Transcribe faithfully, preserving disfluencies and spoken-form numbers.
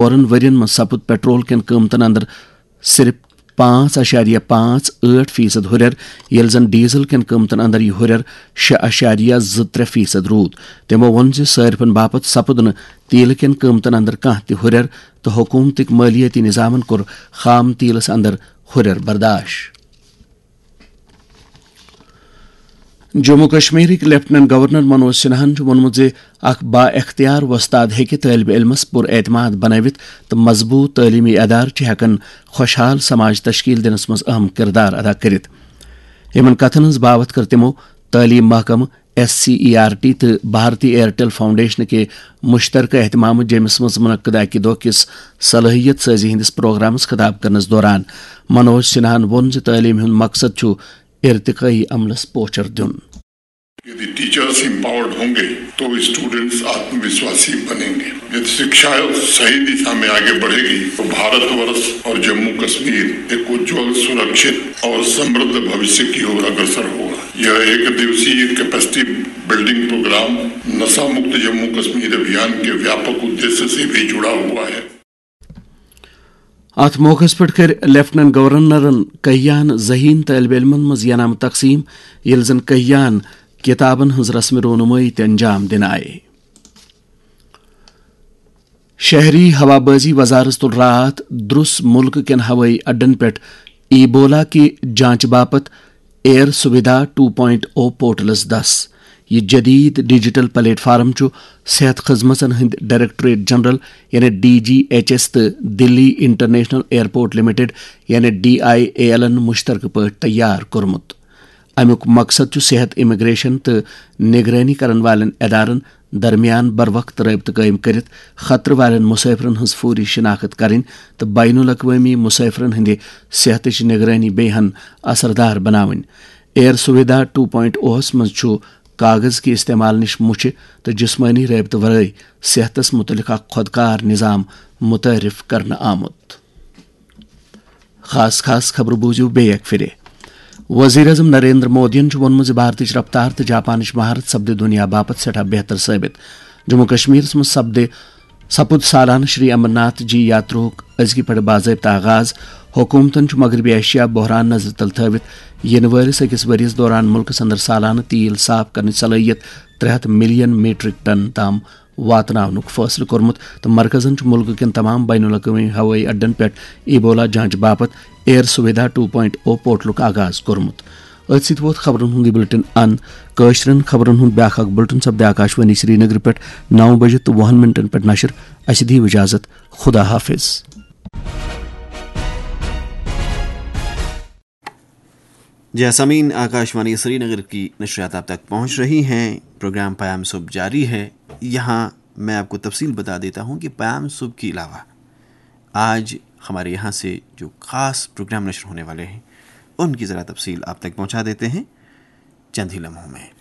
ژورن ؤرین منٛز سپُد پیٹرول کٮ۪ن قۭمتن اندر صرف پانٛژھ اعشاریہ پانٛژھ ٲٹھ فیصد ہُرٮ۪ر، ییٚلہِ زن ڈیزل کٮ۪ن قۭمتن اندر یہِ ہُرٮ۪ر شےٚ اعشاریہ زٕ ترٛےٚ فیصد روٗد۔ تِمو ووٚن زِ صٲرفن باپتھ سپُد نہٕ تیلہٕ کٮ۪ن قۭمتن اندر کانٛہہ تہِ ہُرٮ۪ر تہٕ حکوٗمتٕکۍ مٲلیٲتی نظامن کوٚر خام تیلس اندر ہُرٮ۪ر برداش۔ جموں کشمیرٕکۍ لیفٹیننٹ گورنر منوج سنہاہن چھُ ووٚنمُت زِ اکھ با اختیار وۄستاد ہیٚکہِ طٲلبہِ علمس پُر اعتماد بنٲوِتھ تہٕ مضبوٗط تعلیمی ادارٕ چھِ ہٮ۪کان خوشحال سماج تشکیل دِنس منٛز اہم کردار ادا کٔرِتھ۔ یِمن کتھن ہٕنٛز باوتھ کٔر تِمو تعلیم محکمہٕ، S C E R T تہٕ بھارتی ایئرٹیل فاؤنڈیشن کہِ مشترکہ اہتمامہٕ جیمس منٛز منعقد اکہِ دۄہ کِس صلٲحیت سٲزی ہٕنٛدِس پروگرامس خطاب کرنس دوران۔ منوج سنہاہن ووٚن زِ تعلیٖم ہُنٛد مقصد چھُ ارتقٲیی عملس پوچھر دیُن۔ यदि टीचर्स एम्पावर्ड होंगे तो स्टूडेंट्स आत्मविश्वासी बनेंगे। यदि शिक्षा सही दिशा में आगे बढ़ेगी तो भारतवर्ष और जम्मू कश्मीर एक उज्जवल, सुरक्षित और समृद्ध भविष्य की ओर अग्रसर होगा। यह एक दिवसीय कैपेसिटी बिल्डिंग प्रोग्राम नशा मुक्त जम्मू कश्मीर अभियान के व्यापक उद्देश्य से भी जुड़ा हुआ है। اتھ موقعس پٮ۪ٹھ کٔر لیفٹیننٹ گورنرن کہیان ذہین طٲلبہِ علمن منٛز انعام تقسیٖم، ییٚلہِ زن کہیان کِتابن ہٕنٛز رسم رونمٲیی تہِ انجام دِنہٕ آیہِ۔ شہری ہوابازی وزارت تُل راتھ درُس مُلکہٕ کٮ۪ن ہوٲیی اڈن پٮ۪ٹھ ایبولا کہِ جانچہِ باپتھ ایئر سویدھا ٹو پوائنٹ او پورٹلس دس۔ یہِ جدید ڈیجیٹل پلیٹ فارم چھُ صحت خدمژن ہٕنٛدۍ ڈائریکٹوریٹ جنرل یعنی ڈی جی ایچ ایس تہٕ دلی انٹرنیشنل ایئرپورٹ لمیٹڈ یعنی ڈی آئی اے ایلن مشترکہٕ پٲٹھۍ تیار کوٚرمُت۔ امیُک مقصد چھُ صحت، امیگریشن تہٕ نگرٲنی کرن والٮ۪ن ادارن درمیان بروقت رٲبطہٕ قٲیِم کٔرِتھ خطرٕ والٮ۪ن مسافرن ہٕنٛز فوری شناخت کرٕنۍ تہٕ بین الاقوٲمی مسافرن ہٕنٛدِ صحتٕچ نگرٲنی بیٚیہِ ہن اثردار بناوٕنۍ۔ ایئر سویدھا ٹو پوائنٹ اوہس منٛز چھُ کاغذ کہِ استعمال نِش مُچھِ تہٕ جسمٲنی رٲبطہٕ ورٲے صحتس متعلق اکھ خۄدکار نظام متعارف کرنہٕ آمُت۔ خاص خاص خبرٕ بوٗزِو بیٚیہِ اکہِ پھِرِ۔ وزیر اعظم نریندر مودیَن چھُ ووٚنمُت زِ بھارتٕچ رفتار تہٕ جاپانٕچ مہارت سپدِ دُنیا باپتھ سٮ۪ٹھاہ بہتر ثٲبِت۔ جموں کشمیرس منٛز سپدِ سپُد سالانہٕ شری امرناتھ جی یاتراہُک أزکہِ پٮ۪ٹھٕ باضٲبطہٕ آغاز۔ حکوٗمتَن چھُ مغربی ایشیا بحران نظرِ تل تھٲوِتھ یِنہٕ وٲلِس أکِس ؤرِیَس دوران مُلکَس اندر سالانہٕ تیٖل صاف کرنٕچ صلٲحیت ترٛےٚ ہَتھ ملین میٹرک ٹن تام واتناونُک فٲصلہٕ کوٚرمُت تہٕ مرکزَن چھُ مُلکہٕ کٮ۪ن تمام بین الاقوٲمی ہوٲیی اڈن پٮ۪ٹھ ایبولا جانچ باپتھ ایئر سویدھا ٹو پوائنٹ او پورٹلُک آغاز کوٚرمُت۔ أتھۍ سۭتۍ ووت خبرن ہُنٛد یہِ بُلٹن اند۔ کٲشرٮ۪ن خبرن ہُنٛد بیٛاکھ اکھ بُلٹن سپدِ آکاشوانی سرینگرٕ پٮ۪ٹھ نو بجہِ تہٕ وُہن منٹن پٮ۪ٹھ نشر۔ اسہِ دِیِو اجازت۔ خدا حافظ۔ جی سامعین، آکاشوانی سری نگر کی نشریات آپ تک پہنچ رہی ہیں۔ پروگرام پیام صبح جاری ہے۔ یہاں میں آپ کو تفصیل بتا دیتا ہوں کہ پیام صبح کے علاوہ آج ہمارے یہاں سے جو خاص پروگرام نشر ہونے والے ہیں، ان کی ذرا تفصیل آپ تک پہنچا دیتے ہیں چند ہی لمحوں میں۔